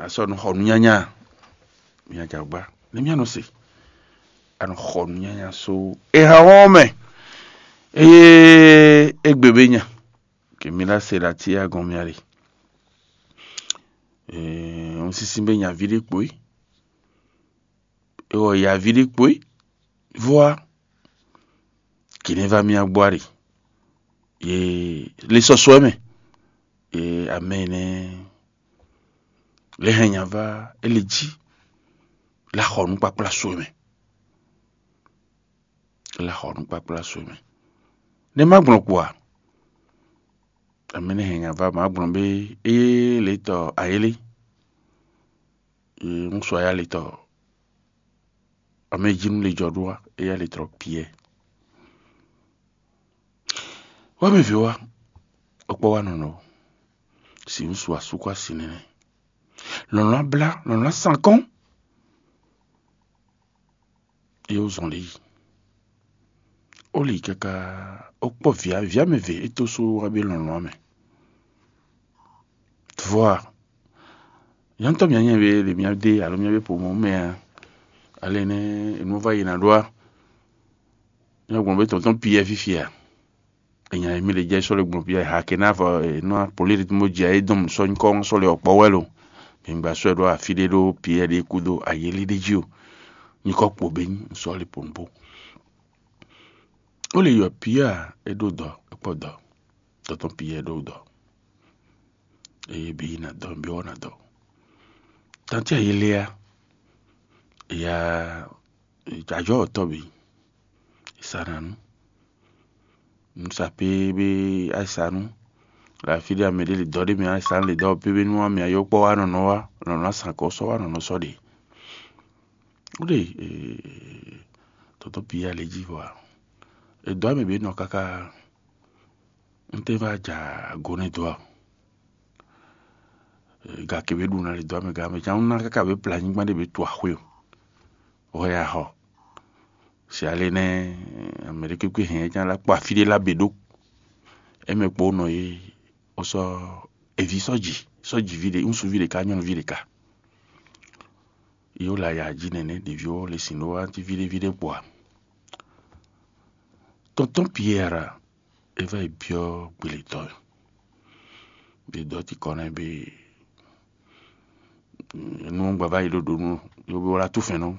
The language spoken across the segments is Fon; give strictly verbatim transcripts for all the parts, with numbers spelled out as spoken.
a sɔ́ nɔ xɔ nǔnyanya. Mia jɛ agbá nú mía nɔ se, a nɔ xɔ nǔnyanya só e ha wɔn mɛ. Eye égbé be nya, kɛ mi ná se ɖo atíya gɔn mia ɖe. Un sísí be nyaví ɖé kpo é, ewɔ yaví ɖé kpo é. Vɔ́ a, kì ní vá mía gbɔ a ɖe. Ye lé sɔ́ sɔ́ ɛ mɛ, ye amɛ énɛ́ lɛ́ hɛn nya vá é lě jí, lá xɔ nǔkpakpla sɔ́ ɛ mɛ. Lá xɔ nǔkpakpla sɔ́ ɛ mɛ. Nɛ́ má gblɔn kpo a? Amɛ nɛ́ hɛn nya vá má gblɔn bé é lě tɔ ayélé. Ŋúsu ayálitɔ, amɛ jí nú lě jɔ ɖó wá, éyɛ́ lě tlɔ Piyɛ́ɛ. Wá mɛ vǐ wá, ɔkpɔ́ wá nɔnɔ, si ŋúsu asúkɔ asi nɛnɛ. Lɔ̌nlɔ́n ablá, lɔ̌nlɔ́n asankɔ́n. É wú zɔn lě yi. Ó lě yi káká, ó kpɔ́ vǐ vǐ amɛ ve é tó sú wá bé lɔ̌nlɔ́n mɛ. Vɔ́ a, nyɔ̌nu tɔn mǐ nyɛ be ɖe mǐ ɖe alo mǐ be po mɔ̌ mɛ a? Ale nɛ́ nǔ vá yi ná ɖó a? Nyɛ gbɔn bé tɔn tɔn Piyɛ́ɛ fífi a? Enya e mì le jɛ sɔ́ le gbɔn Piyɛ́ɛ ha ke ná vɔ nɔ políritmo jɛ é dɔn sɔ́ nyí kɔ́ sɔ́ le ɔkpɔ́ wɛ lo. Mi gba sɔ́ ɛ ɖó afí ɖé ɖó Piyɛ́ɛ ɖé kúdó ayéli ɖé jí o. Nyí kɔ́ kpo bé nyí sɔ́ le ponpo. Ó lè yɔ Piyɛ́ɛ a, é ɖó dɔ, é kpɔ dɔ. Tɔtɔn Piyɛ́ɛ ɖó dɔ. Eye bǐ yi na dɔ, bǐ wɔ na dɔ. Tantí ayéli a, ya jajɔ tɔ bǐ. Sananu. Nusapé be asanú. Le afi ɖé ame ɖé le dɔ ɖé mɛ asanú le dɔ pépé nú ame ayɔkpɔ wa nɔnɔ wa nɔnɔ asan kɔ sɔ wa nɔnɔ sɔ ɖe. Wúɖe tɔtɔ Piyɛ́ɛ le jí vɔ a? Edɔ ame be nɔ káká. Ntɛ́ va ja ago nɛ́ dó a? Gake be ɖu ná le dó ame gǎn mɛ can ná káká be plá nyigban ɖé be tu axwé o. Hwɛ ya xɔ. Si ale nɛ́, ame ɖé kpékpé hɛn can lá kpó afí ɖé lá be ɖó. Émɛ kpó nɔ é, ó sɔ́ eví sɔ́ji sɔ́ji ví ɖé ŋsuvi ɖé ká nyɔ́nuví ɖé ká. Yó la ya jí nɛnɛ ɖeví ó le sin ɖó wá ví ɖé ví ɖé kpó a? Tɔntɔn Piyɛ́ɛ a? É va yi byɔ́ gbelětɔ́ ɛ. Ɖe dɔ̌ ti kɔ nɛ́ bé nú gbava yi ɖo ɖo nú yó bí wlá túfɛn nú.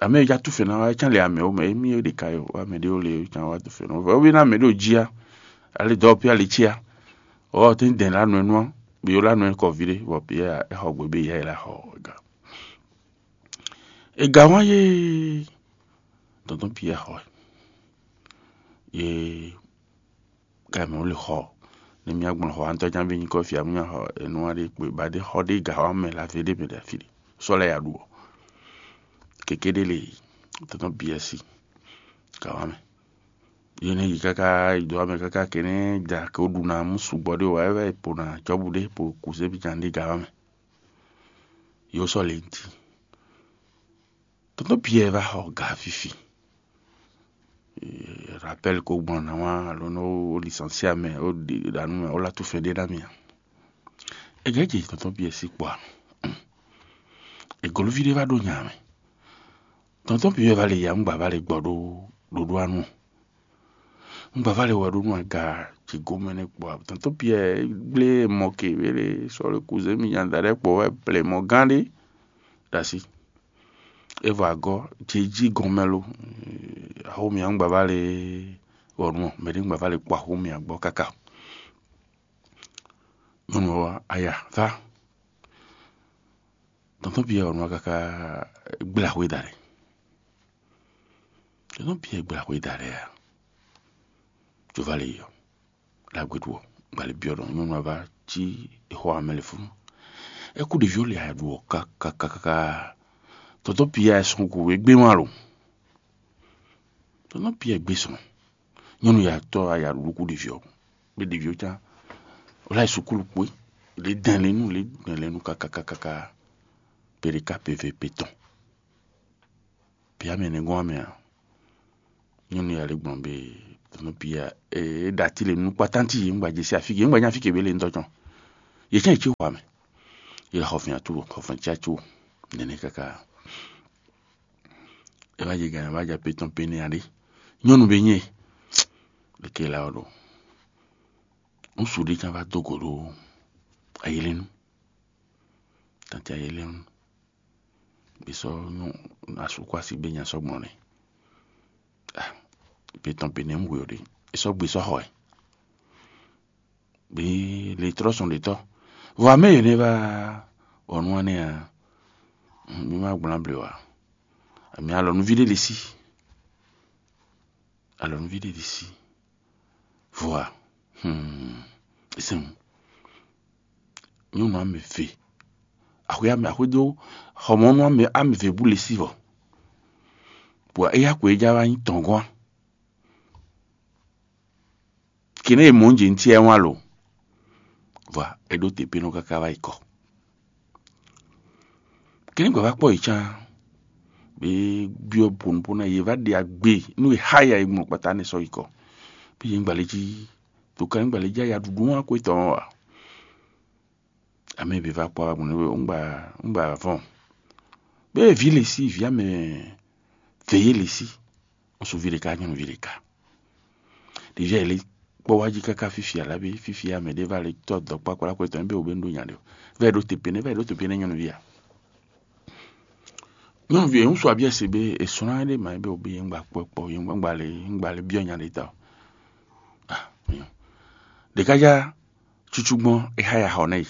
Ame e ja túfɛn ná wá é cán le amɛ ó mɛ émí é ɖe ka yɔ wá mɛ ɖé ó le é cán wá túfɛn nú vɔ ó bí ná mɛ ɖé ó jí á. Ali dɔ̌ pí ali cí á. Ɔ́ tɛ́n dɛn lá nɔ ɛ nú á. Bí yó lá nɔ ɛ kɔ ví ɖé bɔ Piyɛ́ɛ é xɔ gbe bé yá yi lá xɔ ga. È gǎn wá yé tɔntɔn Piyɛ́ɛ xɔ ɛ. Yé ká mɛ wó lè xɔ nɛ mía gbɔn xɔ antɔ jan bí nyí kɔ fia mía xɔ enu wá ɖé kpé ba ɖé xɔ ɖé gǎ wá mɛ la vé ɖé mɛ ɖe afi ɖé sɔ lɛ ya ɖu ɔ. Kéké ɖé lè tɔntɔn Piyɛ́ɛ sí gǎ wá mɛ. Yé nɛ yi káká yi dó wá mɛ káká kéné da ké wó ɖu ná mú sugbɔ ɖé wá é wá yi po ná cɔ́bú ɖé po kú sébi jan ɖé gǎ wá mɛ. Yó sɔ lě ntí. Tɔntɔn Piyɛ́ɛ va xɔ ga fifi. Rapɛl ko gbɔn ná wá alo nɔ ó lisansi amɛ ó ɖi ɖanu mɛ ó la túfɛ ɖé ná mì a? È gɛ́ jɛ tɔntɔn Piyɛ́ɛ sí kpɔ a? È goloví ɖé va ɖó nya mɛ. Tɔntɔn Piyɛ́ɛ va le ya ŋgbà va le gbɔ ɖó ɖoɖó anu. Ŋgbà va le wɛ ɖó nú aga ce gomɛ nɛ kpɔ a? Tɔntɔn Piyɛ́ɛ gblé mɔ ke wele sɔ le kuzé mi nya da ɖɛ kpɔ wɛ plɛ mɔ gán ɖé ɖo asi. É vɔ agɔ́ ce jí gɔnmɛ lo. Axó mì ŋgbà va le wɔnu ɔ, mɛ ɖé ŋgbà va le kpɔ axó mì agbɔ káká. Nyɔnu ɔ́ aya vá. Tɔntɔn Piyɛ́ɛ wɔnu ɔ́ káká gblé axwé da ɖɛ. Tɔntɔn Piyɛ́ɛ gblé axwé da ɖɛ a? Jová le yɔ. Ɖagbe ɖu ɔ, gbali byɔ́ ɖɔ nyɔnu ava cí exɔ amɛ le funu. É kú ɖeví ɔ́ le aya ɖu ɔ kakakaka. Tɔntɔn Piyɛ́ɛ sɔn gǔ é gbé wán lo. Tɔntɔn Piyɛ́ɛ gbé sɔn. Nyɔnu ya tɔ́ aya ɖu ɖokú ɖeví ɔ́. Bé ɖeví ɔ́ can. Ó lá yi sukúlu kpó. Lě dɛn lě nú lě dɛn lě nú kakakaka. Pe ɖeka pe ve pe tɔn. Pia mɛ nɛ gɔ́n amɛ a? Nyɔnu ya lě gbɔn bé tɔnɔ Pia é ɖa tí le nú kpatánti yě ŋgba jesi afí ke ŋgba nyá afí ke bé le ŋutɔ cɔn. Yě cán yě cí xɔ amɛ. é xɔ fɛn atú, xɔ fɛn cí atú nɛnɛ káká. É wá jɛ gǎn, é wá jɛ pétɔn péné aɖé. Nyɔ́nu bé nyí e, leke la ɔ́ ɖo. Ŋsu ɖé can wá dó gǒ ɖó ayélénu. Tantí ayélénu. Bí sɔ́ nyɔ́ asú kó así bé nya sɔ́ gbɔn nɛ́. Pétɔn péné un hwe ɔ́ ɖé. É sɔ́ gbe sɔ́ xɔ ɛ. Bí le trɔ́ sɔn ɖě tɔ́. Vɔ amɛ yě nɛ́ vá ɔ́ nú ɔ́ nɛ́ ǎ. Mí má gblán blǒ ǎ. Mǐ alɔ̌núví ɖé ɖe sí. Alɔ̌núví ɖé ɖe sí. Vɔa, hmm, sɛn nyɔnu amɛ ve, axwé amɛ axwé dó xɔmɔnu amɛ amɛ ve bú le sí vɔ, bɔ éyá ko é já wá nyí tɔngɔ́n. Kɛnɛ e mɔ̌ jǐ ntí ɛ wán lo, vɔa é ɖó te pé nɔ káká wá yi kɔ. Kɛnɛ gbǎ vá kpɔ́ yě cán, bě byɔ́ ponupónú yě vá ɖe agbe nú è xá ya e gbɔn kpatá nɛ́ sɔ́ yi kɔ. Bí yě ń gbalé jí, to ka ní gbalé jí aya ɖuɖu wán kó etɔn ɔ́ ǎ. Amɛ bǐ vá kpɔ́ wá gbɔn nú we, un gba un gba vɔn. Bɛ́ vǐ le sí vǐ amɛ vě yé le sí. Ŋsuvi ɖeka nyɔnuvi ɖeka. Ɖevi ayǐ lé kpɔ́ wá jí káká fífi alábí fífi amɛ ɖé va lé tɔ́ dɔ̌kpákpá kɔ tɔn bɛ wǒ bɛ nu ɖó nya ɖe o. Vɛ ɖo te pene vɛ ɖo te pene nyɔnuvi a. Nyɔnuvi e ŋsu abiɛ se be e sɔn ɖe ma be o be yɛn gba kpɔ kpɔ yɛn gba le yɛn gba le biɔ nya ɖe ta o. Ah, nyɔ. Ɖeka ja cucu gbɔn e xa ya xɔ nɛ yi.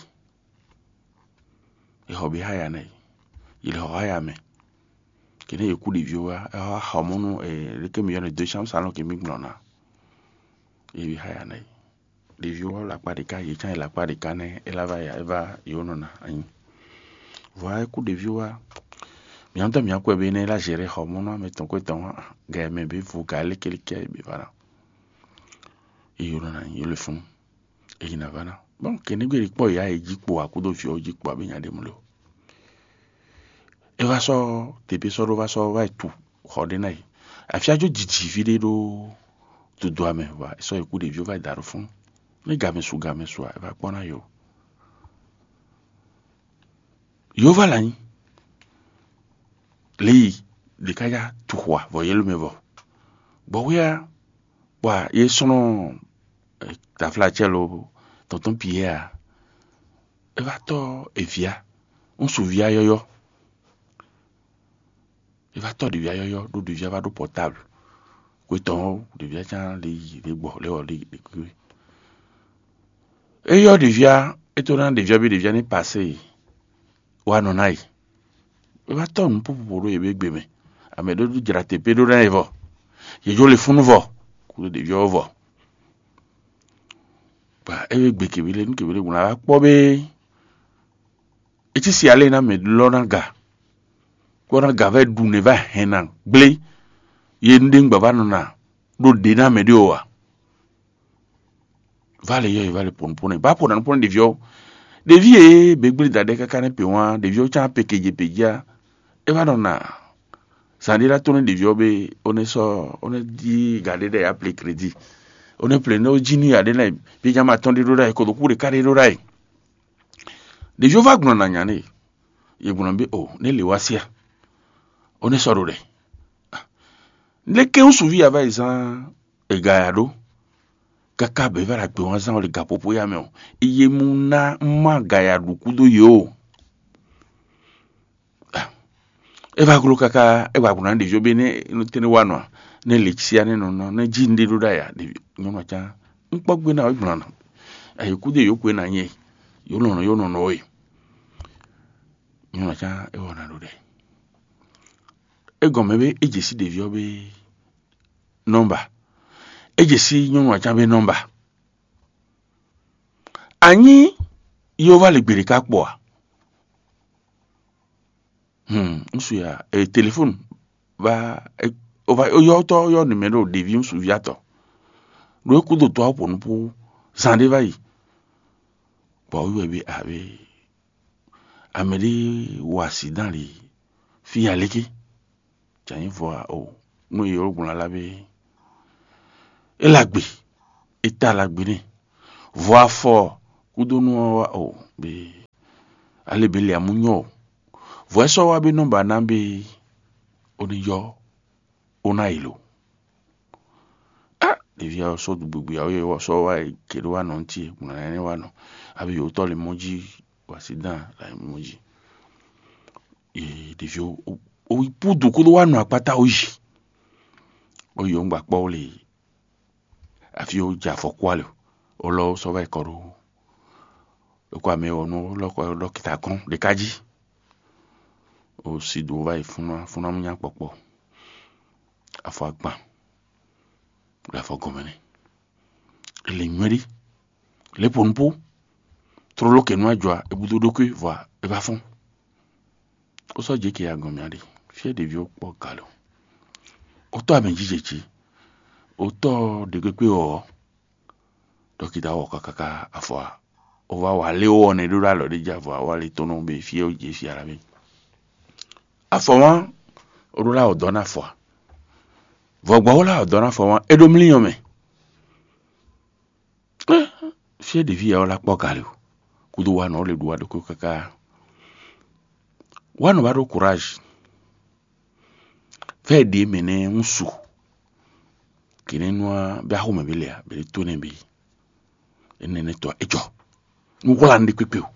E xɔ be xa ya nɛ yi. Yi le xɔ xa ya mɛ. Kene ye kú ɖeviwo wá, é wá xɔ mɔnu, e leke mi yɔnɛ deuxième salon ke mi gblɔn na. Ye bi xa ya nɛ yi. Ɖeviwo wá lakpa ɖeka, ye cán yi lakpa ɖeka nɛ, é lá va ya, é va yewo nɔ na anyi. Vɔa é kú ɖeviwo wá. Mǐ ntɔ́ mǐ akwɛ be nɛ é lá zɛ̌ ɖe xɔ mɔnu amɛ tɔn kwɛ tɔn wá. Gɛ mɛ be vo ga lékeleke be va na. Ye yewo nɔ na anyi, yewo le fún. Eyi na va ná. Bon, kɛnɛgbé ɖi kpɔ́ yá e jí kpo akúdo vǐ ɔ́ jí kpo abǐ nya ɖé mló. É vá sɔ́ tepe sɔ́ ɖó vá sɔ́ vá yi tu xɔ ɖé ná yi. Afia jó jiji fí ɖé ɖó dodo amɛ, vɔ é sɔ́ yi kú ɖeví ó vá yi da ɖo fún. Ní gamɛ su gamɛ su a, é vá kpɔ́n ná yi o. Yehova la nyi. Lě yi ɖě ká já tu xwa vɔ yě ló mɛ vɔ. Bɔ wíá bɔ yě sɔ́nɔ taflacɛ lo tɔntɔn Piyɛ a, é vá tɔ́ eví a, ŋsu ví a yɔ́yɔ́. É vá tɔ́ ɖěví a yɔ́yɔ́ ɖó ɖěví a vá ɖó pɔtábl. Xwe tɔn ɔ́, ɖěví a cán lě yi lě gbɔ lě wɔ lě lě kúkú. É yɔ́ ɖěví a, é tó ná ɖěví a bí ɖěví a ní pasé wá nɔ ná yi. É vá tɔ́ nǔ púpúpú ɖó yě bě gbe mɛ. Amɛ ɖó jra te pé ɖó ná yi vɔ. Yě jó le fúnú vɔ. Kúɖó ɖěví ɔ́ vɔ. Bɔ é wé gbe kěwé lé nú kěwé lé wlán wá kpɔ́ bé. É cí si alé ná mɛ lɔ́ ná ga. Kpɔ́ ná ga vɛ́ ɖu nɛ vá hɛn ná gblé. Yě nu ɖé ŋgbà vá nɔ ná ɖó ɖě ná mɛ ɖé o a. Vale yɔ yi vale pɔnpɔn ba pɔn nanpɔn ɖevi ɔ. Ɖevi ye be gblé da ɖe kaka ne pe wan ɖevi ɔ can pe keje pe ja. E va nɔ na zan ɖe la to ne ɖevi ɔ be o ne sɔ o ne di ga ɖe ɖe ya ple kredi. O ne ple ne o ji ni ya ɖe na bi jama tɔn ɖe ɖo ɖa yi kodo ku ɖeka ɖe ɖo ɖa yi. Ɖevi ɔ va gblɔ na nya ne ye gblɔ be o ne le wa sia. O ne sɔ ɖo ɖe. Leke ŋsuvi ya va yi zan ega ya ɖo? Kaka bɔ é va ɖo agbe wán zán ɔ́ le gapopo ya mɛ ɔ́, é yé mú ná má ga ya ɖu kúdó yě o. É va gló káká é wa gblɔ ná ɖevi ɔ́ bé nɛ́ tɛ́nɛ́ wa nɔ a? Nɛ́ lě cia nɛ́ nɔ nɔ nɛ́ jí nɖé ɖó ɖ'ayǐ a? Ɖevi nyɔ̌nu ɔ́ cán un kpɔ́ gbé ná wɛ gbɔn nɔ. Ayǐkúdó yǒ kwe ná nyɛ yǒ nɔ nɔ yǒ nɔ nɔ wɛ. Nyɔ̌nu ɔ́ cán é wɔ ná ɖo ɖɛ. É gɔn mɛ bé é jě sí ɖevi ɔ́ bé nɔ́mba. É jě sí nyɔ̌nu ɔ́ cán bé nɔ́mba. Anyí yóvá le gbeɖé ká kpɔ a? Hmm, ŋsu ya e telefonu va e o va o yɔ tɔ yɔ numero ɖevi ŋsuvi atɔ. Ɖo e kudo tɔ awo ponu po zan ɖe va yi. Bɔ o yɔ bi abe ame ɖe wa si dan li fi ya leke. Janyi vɔ a o nu ye o gbɔn ala be e la gbe e ta la gbe ne vɔ afɔ kudonu ɔ wa o be Alebele amú nyɔ o. Vɔ̌ sɔ́ wá bí nɔ́ ba ná bí ó ní yɔ ó ná yi lo. Á ɖevi ɔ́ sɔ́ ɖu gbigbi ɔ́, ɔ́ sɔ́ wá yi ke ɖó wá nɔ ŋuti gbɔn nɛnɛ wá nɔ. Abi yǒtɔ́ le mɔ jí wasi dán la mɔ jí. Ɖevi ɔ́ ó yi púdu kó ɖó wá nɔ akpátá ó yi. Ó yi ó ŋgba kpɔ́ ó le afi ó jɛ afɔ kú ali ó lɔ ó sɔ́ vɛ kɔ ɖó. Ɖokpó amɛ ɔ́ nú lɔkɔ dɔkita gɔ́n ɖeka jí. O si do va yi fúnná fúnná mú nya kpɔkpɔ. Afɔ agban ɖo afɔ gɔmɛ nɛ. Ele nywɛ ɖi. Lě po nupó. Tlóló kɛ nú ajɔ a, e búdó ɖókúí vɔ a, e va fɔ́n. Ó sɔ́ jě ke agɔn mǐa ɖe. Fí e ɖeví ɔ́ kpɔ́ galo. Ó tɔ́ amɛ jijɛ jí. Ó tɔ́ ɖě kpékpé ɔ́. Dɔkita wɔ káká afɔ a. Ó va wa lé ó ɔnɛ ɖó ɖo alɔ ɖé jí avɔ a, wa lé tɔn nɔ be fí e ó jě fí ala mɛ. Afɔ wán ó ɖó lá ɔdɔ ná afɔ a. Vɔgbɔ ó lá ɔdɔ ná afɔ wán é ɖó mlínyɔ mɛ. Fí e ɖeví ya ɔ́ lá kpɔ́ gale o. Kúdó wa nɔ ó le ɖu wa ɖokó káká. Wa nɔ ba ɖó kuráj. Fɛ́ ɖě mɛ nɛ́ ń su. Kě nɛ́ nú a bɛ axɔ́mɛ bí lɛ a bɛ ɖě tó nɛ́ bí. Énɛ́ nɛ́ tɔ́ é jɔ. Nú hwlá nú ɖé kpékpé o.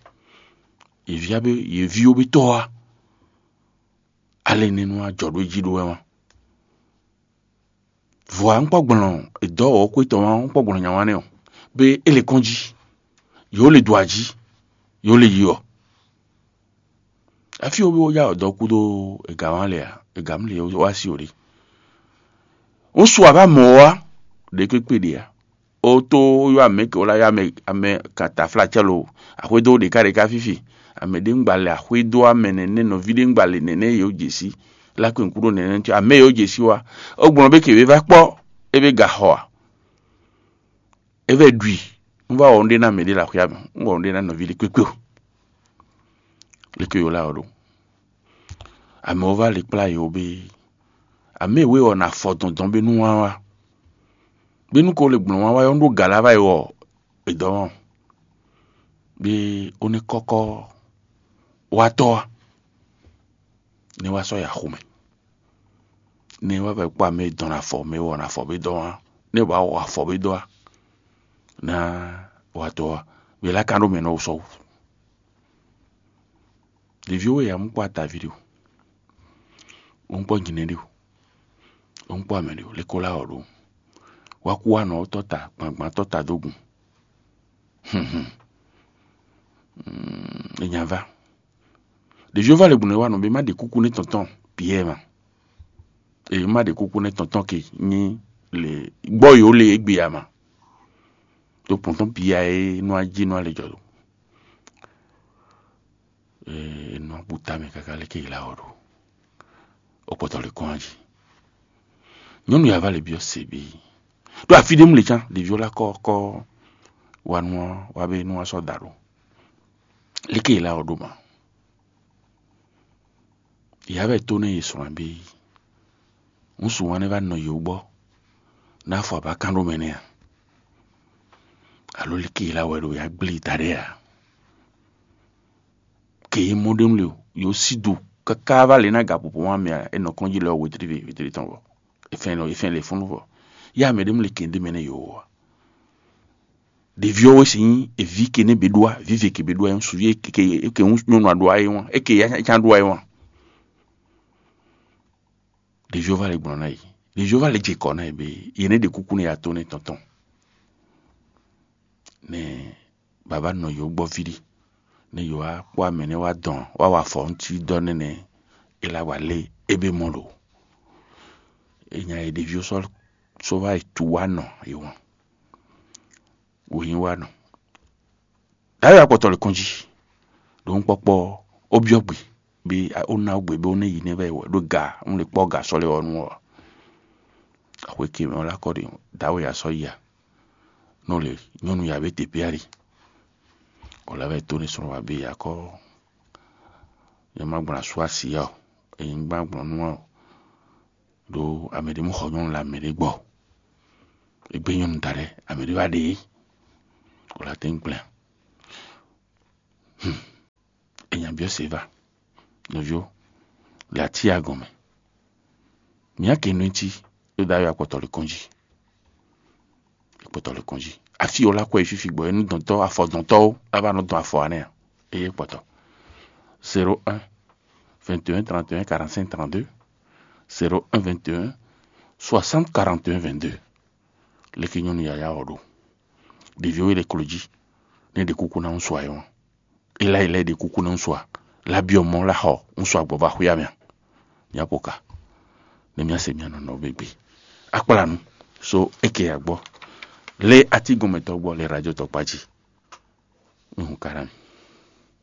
Yěví á bɛ yěví ó bɛ tɔ́ a. Ale nɛ́ nú a jɔ ɖó é jí ɖó wɛ wán. Vɔ̌ a ń kpɔ́ gblɔn dɔ̌ wɔ̌xwé tɔn wá ń kpɔ́ gblɔn nya wá nɛ́ ɔ́, bé é le kɔn jí, yǒ le do ají, yǒ le yi ɔ́. Afi wo bí wó já dɔ̌ kúdó ega wán lɛ a, ega mú le wá sí ò ɖe. Ń su abá mɔ̌ wá ɖě kpékpé ɖě a. Ó tó yɔ amɛ ke wó lá yɔ amɛ amɛ kan taflácɛ lo axwédó ɖeka ɖeka fífi. Amɛ ɖé ŋgba le axwédó amɛ nɛnɛ nɔví ɖé ŋgba le nɛnɛ yě wó jě sí. Lá kpé ŋkú ɖó nɛnɛ ntí amɛ yě wó jě sí wá. Ó gblɔn bé ke wě vá kpɔ́ é bé ga xɔ a. É vɛ ɖui. Un vá wɔ un ɖe ná mɛ ɖé le axwé amɛ. Un wɔ un ɖe ná nɔví ɖé kpékpé o. Leke yǒ lá ɔ́ ɖo. Amɛ wó vá le kplá yě wó bé. Amɛ wé ɔ́ na fɔ dɔndɔn bé nú wá wá. Bínú ko le gblɔ̌n wá wá ɔ́, un ɖó gǎ lá vá yi wɔ è dɔ́ ɔ́, bí ó ní kɔ́kɔ́ wá tɔ́ wá, ní wá sɔ́ yi axu mɛ. Ní wá vɛ kpɔ́ amɛ e dɔn afɔ mɛ e wɔ afɔ bí dɔ́ wá, ní wá wɔ afɔ bí dɔ́ wá, ná wá tɔ́ wá, bí lá ka ɖó mɛ nɔ sɔ́ wú. Ɖevi we ya mú kpɔ́ ataví ɖe o, ó ń kpɔ́ nyinɛ ɖe o, ó ń kpɔ́ amɛ ɖe o, lé kó lá wɔ ɖo. Wá kú wá nɔ tɔ́ ta gbangban tɔ́ ta dó gun. Hǔnhún. É nya vá. Ɖevi ɔ́ va le gbɔn wá nɔ bé má ɖe kúkú nú tɔntɔn Piyɛ́ɛ ma. È má ɖe kúkú nú tɔntɔn ke nyí le gbɔ yǒ le égbé a ma. Tó pɔntɔn Piyɛ́ɛ é nú ají nú alɛ jɔ. Ee, nɔ bu tamɛ káká lé ké yi lá wɔ ɖo. Ó kpɔtɔ lé kɔn jí. Nyɔnu ya va le byɔ́ se bí. Ɖo afi ɖé mu le cán ɖevi ɔ́ lá kɔ kɔ wa nú ɔ́ wá bé nú wá sɔ́ da ɖo. Lé ké yi lá wɔ ɖo ma. Ya vɛ tó nɛ yi sɔn abí. Ŋsu wan nɛ va nɔ yi wú gbɔ. Ná fɔ abá kán ɖó mɛ nɛ a. Alo lé ké yi lá wɛ ɖo ya gblé ta ɖé a. Ke yi mɔ ɖe nu le o, yo si do káká va lě ná ga popo wá mɛ a, e nɔ kɔn jí lɛ ɔ wetri ve wetri tɔn vɔ. Efɛn lɔ efɛn le funu vɔ. Ya mɛ ɖe mu le kende mɛ ne yo wa. Ɖevi ɔ́ wɛ si nyí evi ke ne be ɖoa, vive ke be ɖoa, ŋsu ye ke ke ke ŋu nyɔnu aɖoa ye wan, e ke ya can ɖoa ye wan. Ɖevi ɔ́ va le gblɔ ná yi. Ɖevi ɔ́ va le jɛ kɔ ná yi be ye ne ɖe kuku ne ya to ne tɔntɔn. Ne baba nɔ yo gbɔ viɖi ne yo wá kpɔ amɛ ne wá dɔn wá wa fɔ ŋuti dɔ nɛnɛ ela wa lé ebe mɔ lo. Enya ye ɖeviwo sɔ sɔ va yi tu wa nɔ yi wɔn. Wo yi wa nɔ. Dayo akpɔtɔ le kɔn jí. Ɖo ŋkpɔkpɔ ó byɔ́ gbe bí ó ná gbe bí ó ná yi nɛ́ vɛ wɛ ɖó ga un le kpɔ́ ga sɔ́ lé ɔ́ nu ɔ́. Axwe ke mɛ ɔ́ lá kɔ ɖe dawe ya sɔ́ yi a. Nɔ le nyɔnu ya be te pia ɖi. Wòlá vɛ tó ní sɔn wa be ya kɔ. Nyɛ ma gbɔn asú asi ya o. Eyin gbã gbɔn nú ɔ. Ɖo ame ɖé mɔ xɔ nyɔnu le ame ɖé gbɔ. Egbe nyɔnu da ɖe ame ɖé va ɖe. Wòlá tɛn gblɛ. Hmm. Enya Biɔ se va, nɔvio, le atíya gɔn mɛ. Mǐa ke nú cí, é ɖo ayɔ akpɔtɔ le kɔn jí. Akpɔtɔ le kɔn jí. Afi o la kɔ yi fifi gbɔ, é nú dɔntɔ afɔ dɔntɔ o, a va nɔ dɔn afɔ anɛ a? Eye kpɔtɔ. Zéro un, vingt et un, trente et un, quarante-cinq, trente-deux. Zéro un, vingt et un, soixante, quarante et un, vingt-deux. Leke nyɔnu yaya ɔ ɖo? Ɖevi we le klo jí, ne ɖe kuku ná ŋu sua yɔn. Ila ila ɖe kuku ná ŋu sua. La biɔ mɔ la xɔ ŋu sua gbɔ va xwia mɛ. Mía po ka. Ne mía se mía nɔ nɔ gbegbe. Akpla nu. So eke ya gbɔ. Le ati gɔmɛtɔ gbɔ le radio tɔkpa jí. Mihun ka na mi.